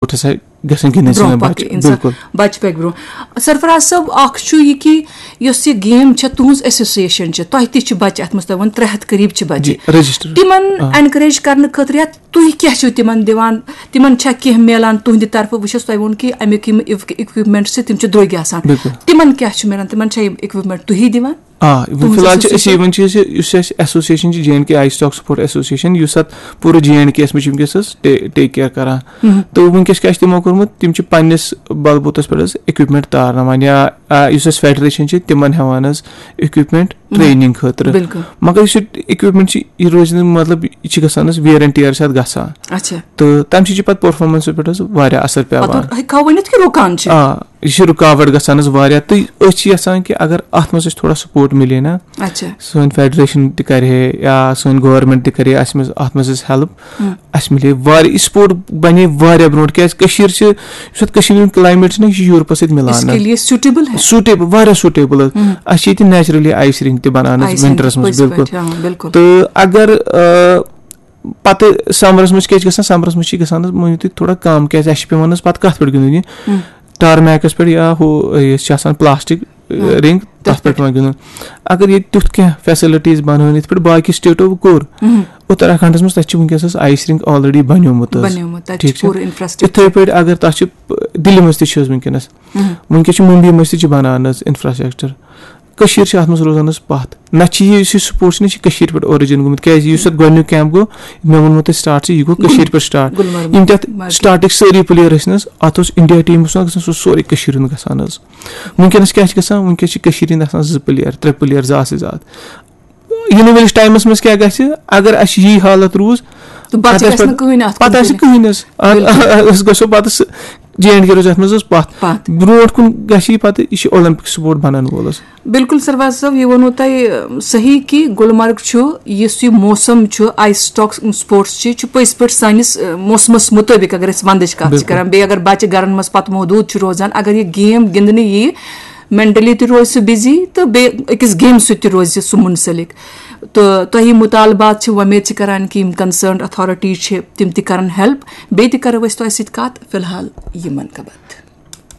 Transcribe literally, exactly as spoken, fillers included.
Sports ہسا گژھن گِنٛدٕنۍ سٲنۍ بچہِ۔ بِلکُل۔ بچہِ پکہِ برونٛہہ۔ سرفراز صٲب، اکھ چھُ یہِ کہِ یۄس یہِ گیم چھےٚ، تُہنٛز ایسوسیشن چھِ، تۄہہِ تہِ چھِ بچہِ اتھ منٛز، تۄہہِ ووٚن ترٛےٚ ہتھ قریب چھِ بچہِ۔ جی، رجسٹر۔ تِمن انکریج کرنہٕ خٲطرٕ یا تُہۍ کیٛاہ چھِو تِمن دِوان؟ تِمن چھا کینٛہہ میلان تُہنٛدِ طرفہٕ؟ وٕچھ حظ، تۄہہِ ووٚن کہِ امیُک یِم اِکوپمنٹ چھِ، تِم چھِ درٛوگۍ آسان۔ بِلکُل۔ تِمن کیٛاہ چھُ میلان؟ تِمن چھا یِم اِکوپمنٹ تُہی دِوان؟ آ، تُہٕنٛز فی الحال چھِ ایسوسیشن؟ أسۍ یِوان چھِ أسۍ، یُس اَسہِ ایسوسیشن چھِ، J and K I stock support association, یُس اَتھ پوٗرٕ جے اینڈ کے یَس منٛز چھِ وٕنکیٚس حظ ٹے-، ٹیک کیئر کران۔ تہٕ وٕنکیٚس کیٛاہ چھِ تِمو کوٚرمُت؟ تِم چھِ پننِس بلبوٗتس پٮ۪ٹھ حظ اِکوپمنٹ تارناوان، یا آ، یُس اَسہِ فیڈریشن چھِ، تِمن ہٮ۪وان حظ اِکوپمنٹ ٹریننگ خٲطرٕ۔ بِلکُل۔ مگر یُس یہِ اِکوپمنٹ چھِ، یہِ روزِ نہٕ، مطلب، یہِ چھِ گژھان حظ ویئر اینڈ ٹیئر چھِ اَتھ گژھان۔ اچھا۔ تہٕ تَمہِ سۭتۍ چھِ پَتہٕ پٔرفارمنس پٮ۪ٹھ حظ واریاہ اثر پٮ۪وان۔ پتہٕ ہیٚکہٕ ہاو ؤنِتھ کہِ رُکان چھِ۔ آ، یہِ چھِ رُکاوٹ گژھان حظ واریاہ، تہٕ أسۍ چھِ یژھان کہِ اگر اَتھ منٛز اَسہِ تھوڑا سپورٹ مِلے نا، اچھا۔ سٲنۍ فیڈریشن تہِ کرِ ہے یا سٲنۍ گورنمنٹ تہِ کرِ ہے اَسہِ منٛز، اَتھ منٛز اَسہِ ہیلپ، اَسہِ مِلے واریاہ، یہِ سپورٹ بنے واریاہ برونٛٹھ، کیازِ کٔشیٖر چھِ، یُس اَتھ کٔشیٖر ہُنٛد کلایمیٹ چھُ نا، یہِ چھُ یورپس سۭتۍ مِلان اس نا۔ کے لیے سیوٹیبل ہے۔ سوٹیبل، واریاہ سوٹیبل حظ۔ اَسہِ چھِ ییٚتہِ نیچرلی آیس رِنگ تہِ بنان حظ آیس رِنگ ونٹرس منٛز، پٔزۍ بِلکُل۔ پٲٹھۍ، آ، بِلکُل۔ تہٕ اگر آ، پتہٕ سمرس منٛز کیٛاہ چھِ گژھان؟ سمرس منٛز چھِ گژھان حظ، مٲنِو تُہۍ، تھوڑا کم، کیازِ اَسہِ چھِ پٮ۪وان حظ پتہٕ کتھ پٮ۪ٹھ گِنٛدُن یہِ؟ ٹارمیکس پٮ۪ٹھ یا ہُہ، یُس چھِ آسان پلاسٹک، آ، رِنگ، تتھ پٮ۪ٹھ پٮ۪وان گِنٛدُن۔ اگر ییٚتہِ تیُتھ کینٛہہ فیسلٹیز بنٲوِن، یِتھ پٲٹھۍ باقٕے سٹیٹو کوٚر، اتراکھنڈس منٛز، تتہِ چھِ وٕنکیٚس حظ آیس رِنگ آلریڈی بنیومُت حظ۔ بنیومُت، تتہِ ٹھیٖک چھِ چھا؟ پوٗرٕ انفراسٹرکچر۔ یِتھے پٲٹھۍ اگر تتھ چھِ، دِلہِ منٛز تہِ چھِ حظ وٕنکیٚنس، وٕنکیٚس چھِ ممبیہِ منٛز تہِ چھِ بنان حظ انفراسٹرکچر۔ کٔشیٖر چھِ اتھ منٛز روزان حظ پتھ۔ نتہٕ چھِ یہِ، یُس یہِ سپورٹ چھُ، یہِ چھُ کٔشیٖرِ پٮ۪ٹھ اورِجن گوٚمُت، کیازِ یُس اتھ گۄڈٕنیُک کیمپ گوٚو، مےٚ ووٚنمو تۄہہِ سٹارٹ چھُ، یہِ گوٚو کٔشیٖرِ پٮ۪ٹھ سٹارٹ۔ گُلمرگ۔ یِم تہِ اتھ مارکیٹ۔ سٹارٹٕکۍ سٲری پٕلیر ٲسۍ نہٕ حظ، اتھ اوس انڈیا ٹیٖم اوس نہٕ گژھان، سُہ اوس سورُے کٔشیٖرِ ہُنٛد گژھان حظ۔ وٕنکیٚنس کیٛاہ چھِ گژھان؟ وٕنکیٚس چھِ کٔشیٖرِ ہٕنٛدۍ آسان زٕ پٕلیر، ترٛےٚ پٕلیر، زٕ آسٕے زٕ اتھ۔ یِنہٕ وٲلِس ٹایمس منٛز کیٛاہ گژھِ؟ اگر اسہِ یی حالت روٗز، تہٕ پتہٕ پتہٕ گژھِ آسہِ نہٕ کٕہٕنۍ اتھ پتہٕ کُن آسہِ فِکرِ۔ کٕہٕنۍ حظ۔ اتھ، أسۍ گژھو پتہٕ سُہ، جے اینڈ کے روزِ اتھ منٛز حظ پتھ۔ پتھ۔ برونٛٹھ کُن گژھِ یہِ پتہٕ، یہِ چھُ اولمپک سپورٹ بنان وول حظ۔ بِلکُل سرفراز صٲب، یہِ ووٚنوُ تۄہہِ، ٲم، صحیح کہِ گُلمرگ چھُ، یُس یہِ موسم چھُ، آیس اسٹاک سپورٹس چھِ، چھُ پٔزۍ پٲٹھۍ سٲنِس، ٲم، موسمس مُطٲبِق، اگر أسۍ ونٛدٕچ کتھ چھِ بِلکُل۔ کران، بیٚیہِ اگر بچہِ گرن منٛز پتہٕ محدوٗد چھُ روزان، اگر یہِ گیم گِنٛدنہٕ یِیہِ، مینٹلی تہِ روزِ سُہ بِزی تہٕ بیٚیہِ أکِس گیمہِ سۭتۍ تہِ روزِ سُہ منسلک۔ تہٕ تۄہہِ یِم مُطالبات چھِ، وۄمید چھِ کران کہِ یِم کنسرنڈ اتھارٹیز چھِ، تِم تہِ کرن ہیلپ۔ بیٚیہِ تہِ کرو أسۍ تۄہہِ سۭتۍ کتھ، فی الحال یِمن خبر۔